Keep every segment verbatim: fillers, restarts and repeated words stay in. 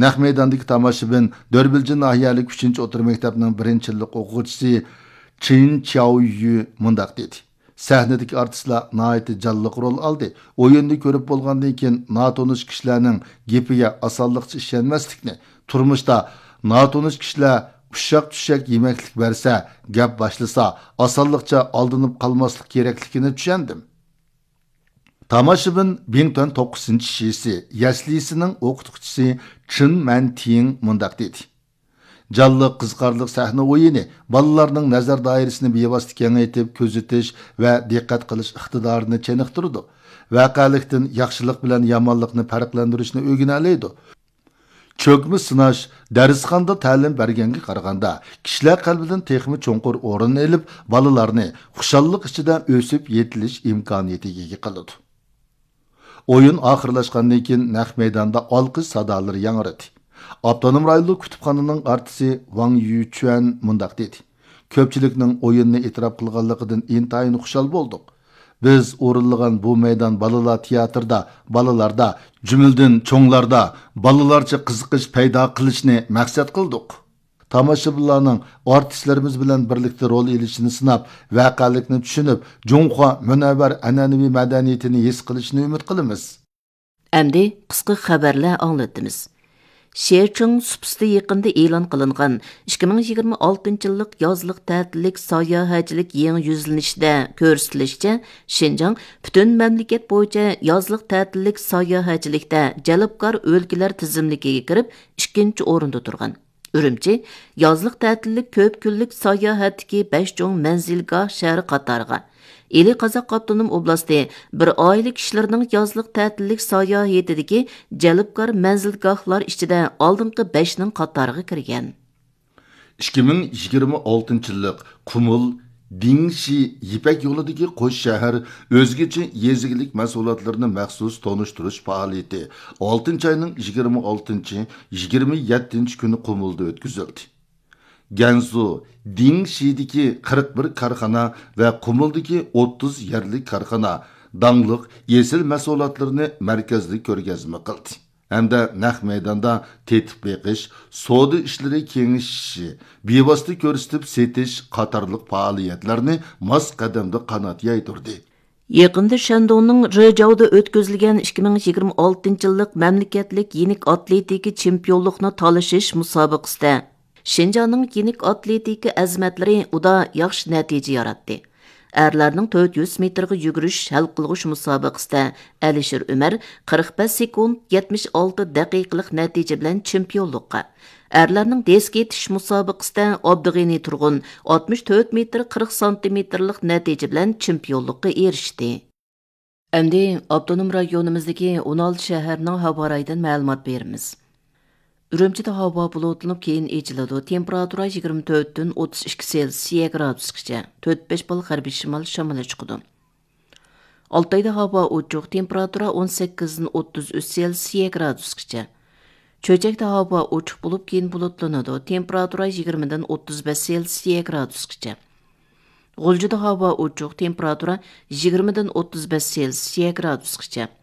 نەق مەيداندىكى تاماشىبىن دۆربىلجىن ناھىيەلىك ئۈچىنچى ئوتتۇرا مەكتەپنىڭ بىرىنچى يىللىق ئوقۇغۇچىسى چېن چياۋيۈ مۇنداق دېدى: سەھنىدىكى ئارتىسلار ناھايىتى جانلىق رول ئالدى. ئويۇننى كۆرۈپ بولغاندىن كېيىن، ناتونۇش كىشىلەرنىڭ گېپىگە ئاسانلىقچە ئىشەنمەسلىكنى، تۇرمۇشتا ناتونۇش كىشىلەر ئۇششاق-چۈششەك يېمەكلىك بەرسە، گەپ باشلىسا، ئاسانلىقچە ئالدىنىپ قالماسلىق كېرەكلىكىنى چۈشەندىم. تاماشىبىن بىڭتۈەن توققۇزىنچى شىسى يەسلىسىنىڭ ئوقۇتقۇچىسى چېن مەنتىڭ مۇنداق دېدى: جانلىق، قىزىقارلىق سەھنە ئويۇنى بالىلارنىڭ نەزەر دائىرىسىنى بىۋاسىتە كېڭەيتىپ، كۆزىتىش ۋە دىققەت قىلىش ئىقتىدارىنى چېنىقتۇرىدۇ. ۋەقەلىكتىن ياخشىلىق بىلەن يامانلىقنى پەرقلەندۈرۈشنى ئۆگىنەلەيدۇ. چۆكمە سىناش دەرسخانىدا تەلىم بەرگەنگە قارىغاندا، كىشىلەر قەلبىدىن تېخىمۇ چوڭقۇر ئورۇن ئېلىپ، بالىلارنى خۇشاللىق ئىچىدە ئۆسۈپ يېتىلىش ئىمكانىيىتىگە ئىگە قىلىدۇ. ئويۇن ئاخىرلاشقاندىن كېيىن، نەق مەيداندا ئالقىش سادالىرى ياڭرىدى. ئاپتونوم رايونلۇق كۇتۇپخانىنىڭ ئارتىسى ۋاڭ يۈچۈەن مۇنداق دېدى: كۆپچىلىكنىڭ ئويۇننى ئېتىراپ قىلغانلىقىدىن ئىنتايىن خۇشال بولدۇق. بىز ئورۇنلىغان بۇ مەيدان بالىلار تىياتىرىدا، بالىلاردا، جۈملىدىن چوڭلاردا بالىلارچە قىزىقىش پەيدا قىلىشنى مەقسەت قىلدۇق. تاماشىبىنلارنىڭ ئارتىسلىرىمىز بىلەن بىرلىكتە رول ئېلىشىنى سىناپ، ۋەقەلىكنى چۈشىنىپ، جۇڭخۇا مۇنەۋۋەر ئەنئەنىۋى مەدەنىيىتىنى ھېس قىلىشىنى ئۈمىد قىلىمىز. ئەمدى قىسقا خەۋەرلەر ئاڭلىتىمىز. شېچىڭ سۇپىسىدا يېقىندا ئېلان قىلىنغان ئىككى مىڭ يىگىرمە ئالتىنچى يىللىق يازلىق تەتىللىك ساياھەتچىلىك يېڭى يۈزلىنىشىدە كۆرسىتىلىشىچە، شىنجاڭ پۈتۈن مەملىكەت بويىچە يازلىق تەتىللىك ساياھەتچىلىكتە جەلپكار ئۆلكىلەر تىزىملىكىگە كىرىپ، ئىككىنچى ئورۇندا تۇرغان. ئۈرۈمچى يازلىق تەتىللىك كۆپ كۈنلۈك ساياھەتتىكى بەش چوڭ مەنزىلگاھ شەھىرى قاتارىغا، ئىلى قازاق ئاپتونوم ئوبلاستى بىر ئائىلە كىشىلىرىنىڭ يازلىق تەتىللىك ساياھىتىدىكى جەلپكار مەنزىلگاھلار ئىچىدە ئالدىنقى بەشنىڭ قاتارىغا كىرگەن. ئىككى مىڭ يىگىرمە ئالتىنچى يىللىق قۇمۇل دىڭشى يىپەك يولىدىكى قوش شەھەر ئۆزگىچە يېزا ئىگىلىك مەھسۇلاتلىرىنى مەخسۇس تونۇشتۇرۇش پائالىيىتى ئالتىنچى ئاينىڭ يىگىرمە ئالتىنچى، يىگىرمە يەتتىنچى كۈنى قۇمۇلدا ئۆتكۈزۈلدى. گەنزۇ دىڭشىدىكى قىرىق بىر كارخانا ۋە قۇمۇلدىكى ئوتتۇز يەرلىك كارخانا داڭلىق ئېسىل مەھسۇلاتلىرىنى مەركەزلىك كۆرگەزمە قىلدى ھەمدە نەق مەيداندا تېتىپ بېقىش، سودا ئىشلىرى كېڭىشىشى، بىۋاسىتە كۆرسىتىپ سېتىش قاتارلىق پائالىيەتلەرنى ماس قەدەمدە قانات يايدۇردى. يېقىندا شەندۇڭنىڭ رېجاۋدا ئۆتكۈزۈلگەن ئىككى مىڭ يىگىرمە ئالتىنچى يىللىق مەملىكەتلىك يېنىك ئاتلېتىكا چېمپىيونلۇقىنى تالىشىش مۇسابىقىسىدە، شىنجاڭنىڭ يېنىك ئاتلېتىكا ئەزىمەتلىرى ئۇدا ياخشى نەتىجە ياراتتى. ئەرلەرنىڭ تۆت يۈز مېتىرغا يۈگۈرۈش ھەل قىلغۇچ مۇسابىقىسىدە ئەلىشىر ئۆمەر قىرىق بەش سېكۇنت يەتمىش ئالتە دەقىقىلىق نەتىجە بىلەن چېمپىيونلۇققا، ئەرلەرنىڭ دىسك ئېتىش مۇسابىقىسىدە ئابدۇغېنى تۇرغۇن ئاتمىش تۆت مېتىر قىرىق سانتىمېتىرلىق نەتىجە بىلەن چېمپىيونلۇققا ئېرىشتى. ئەمدى ئاپتونوم رايونىمىزدىكى ئون ئالتە شەھەرنىڭ ھاۋا رايىدىن مەلۇمات بېرىمىز. ئۈرۈمچىدە ھاۋا بۇلۇتلىنىپ، كېيىن ئېچىلىدۇ. تېمپېراتۇرا يىگىرمە تۆتتىن ئوتتۇز ئىككى سېلسىيە گرادۇسقىچە، تۆت بەش بال غەربىي شىمال شامىلى چىقىدۇ. ئالتايدا ھاۋا ئوچۇق، تېمپېراتۇرا ئون سەككىزدىن ئوتتۇز ئۈچ سېلسىيە گرادۇسقىچە. چۆچەكتە ھاۋا ئوچۇق بولۇپ، كېيىن بۇلۇتلىنىدۇ، تېمپېراتۇرا يىگىرمىدىن ئوتتۇز بەش سېلسىيە گرادۇسقىچە. غۇلجىدا ھاۋا ئوچۇق، تېمپېراتۇرا يىگىرمىدىن ئوتتۇز بەش سېلسىيە گرادۇسقىچە.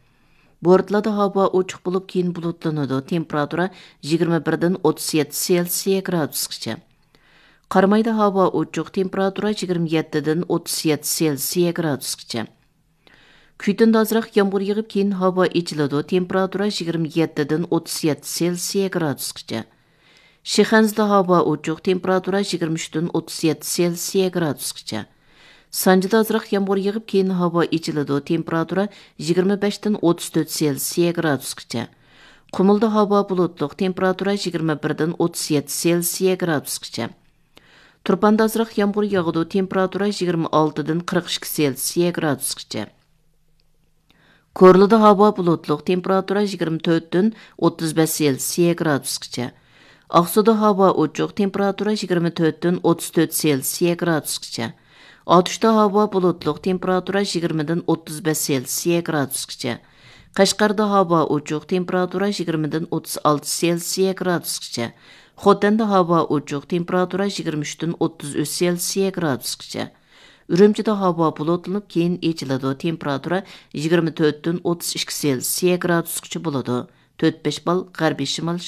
بورتالادا ھاۋا ئوچۇق بولۇپ، كېيىن بۇلۇتلىنىدۇ، تېمپېراتۇرا يىگىرمە بىردىن ئوتتۇز يەتتە سېلسىيە گرادۇسقىچە. قارامايدا ھاۋا ئوچۇق، تېمپېراتۇرا يىگىرمە يەتتىدىن ئوتتۇز يەتتە سېلسىيە گرادۇسقىچە. كۈيتۈندە ئازراق يامغۇر يېغىپ، كېيىن ھاۋا ئېچىلىدۇ، تېمپېراتۇرا يىگىرمە يەتتىدىن ئوتتۇز يەتتە سېلسىيە گرادۇسقىچە. شىخەنزىدە ھاۋا ئوچۇق، تېمپېراتۇرا يىگىرمە ئۈچتىن ئوتتۇز يەتتە سېلسىيە گرادۇسقىچە. سانجىدا ئازراق يامغۇر يېغىپ، كېيىن ھاۋا ئېچىلىدۇ، تېمپېراتۇرا يىگىرمە بەشتىن ئوتتۇز تۆت سېلسىيە گرادۇسقىچە. قۇمۇلدا ھاۋا بۇلۇتلۇق، تېمپېراتۇرا يىگىرمە بىردىن ئوتتۇز يەتتە سېلسىيە گرادۇسقىچە. تۇرپاندا ئازراق يامغۇر ياغىدۇ، تېمپېراتۇرا يىگىرمە ئالتىدىن قىرىق ئىككى سېلسىيە گرادۇسقىچە. كورلىدا ھاۋا بۇلۇتلۇق، تېمپېراتۇرا يىگىرمە تۆتتىن ئوتتۇز بەش سېلسىيە گرادۇسقىچە. ئاقسۇدا ھاۋا ئوچۇق، تېمپېراتۇرا يىگىرمە تۆتتىن ئوتتۇز تۆت سېلسىيە گرادۇسقىچە. ئاتۇشتا ھاۋا بۇلۇتلۇق، تېمپېراتۇرا يىگىرمىدىن ئوتتۇز بەش سېلسىيە گرادۇسقىچە. قەشقەردە ھاۋا ئوچۇق، تېمپېراتۇرا يىگىرمىدىن ئوتتۇز ئالتە سېلسىيە گرادۇسقىچە. خوتەندە ھاۋا ئوچۇق، تېمپېراتۇرا يىگىرمە ئۈچتىن ئوتتۇز ئۈچ سېلسىيە گرادۇسقىچە. ئۈرۈمچىدە ھاۋا بۇلۇتلىنىپ، كېيىن ئېچىلىدۇ، تېمپېراتۇرا يىگىرمە تۆتتىن ئوتتۇز ئىككى سېلسىيە گرادۇسقىچە بولىدۇ. تۆت بەش بال غەربىي شىمال